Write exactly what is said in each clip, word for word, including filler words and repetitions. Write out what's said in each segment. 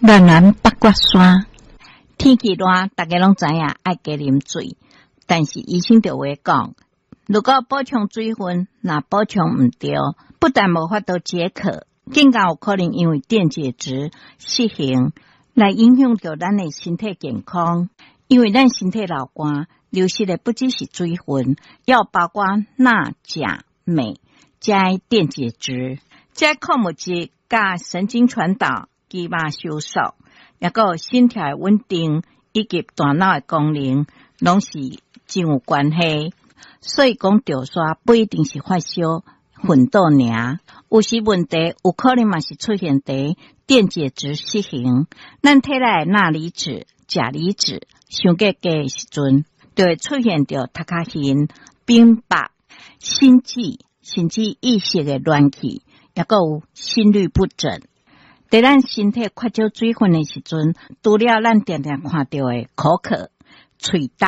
南南八卦山。天氣熱，大家攏知影愛加啉水，但是醫生就會講，如果補充水分，若補充毋著，不但無法度解渴，更加有可能因為電解質失衡來影響著咱的身體健康。因為咱身體流汗，流失的不只是水分，猶包括鈉、鉀、鎂這電解質，這礦物質佮神經傳導、肌肉收縮，抑閣有心跳的穩定以及大腦的功能，攏是真有關係。所以講，著沙不一定是發燒、昏倒爾，有時問題有可能嘛是出現佇電解質失衡。咱體內的鈉離子、鉀離子傷過低的時陣，就會出現著頭殼暈、冰白、心悸，甚至意識的亂去，抑閣有心律不整。佇咱身體缺少水分的時陣，除了咱定定看著的口渴、喙焦，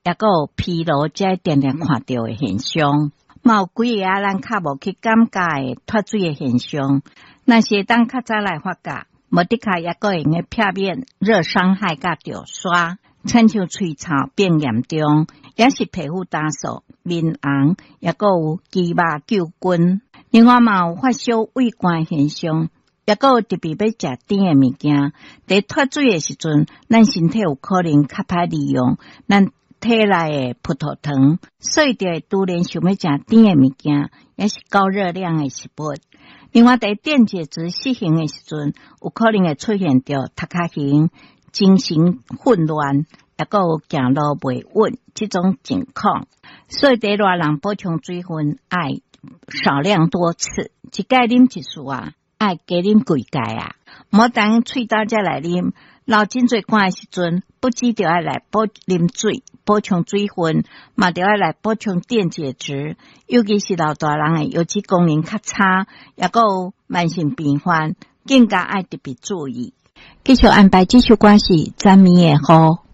抑閣有疲勞，這定定看著的現象，嘛有幾个仔咱較無去感覺的脫水的現象。若是會當較早來發覺，無的確抑閣會用得避免熱傷害佮著沙，親像喙臭變嚴重，抑是皮膚乾燥、面紅，抑閣有肌肉揪筋。另外嘛有發燒、畏寒現象，抑閣有特別欲食甜的物件。佇脫水的時陣，咱身體有可能較歹利用咱體內的葡萄糖，所以就會突然想欲食甜的物件，抑是高熱量的食物。另外，佇電解質失衡的時陣，有可能會出現著頭殼暈、精神混亂，抑閣有行路袂穩這種情況。所以，佇熱人補充水分愛少量多次，一擺啉一次啊，愛加啉幾蓋啊，莫等喙焦才來啉。流真濟汗的時陣，不只著愛來補啉水，補充水分，嘛著愛來補充電解質。尤其是老大人的腰子功能較差，抑閣有慢性病患，更加愛特別注意。繼續安排這首歌是昨暝的雨。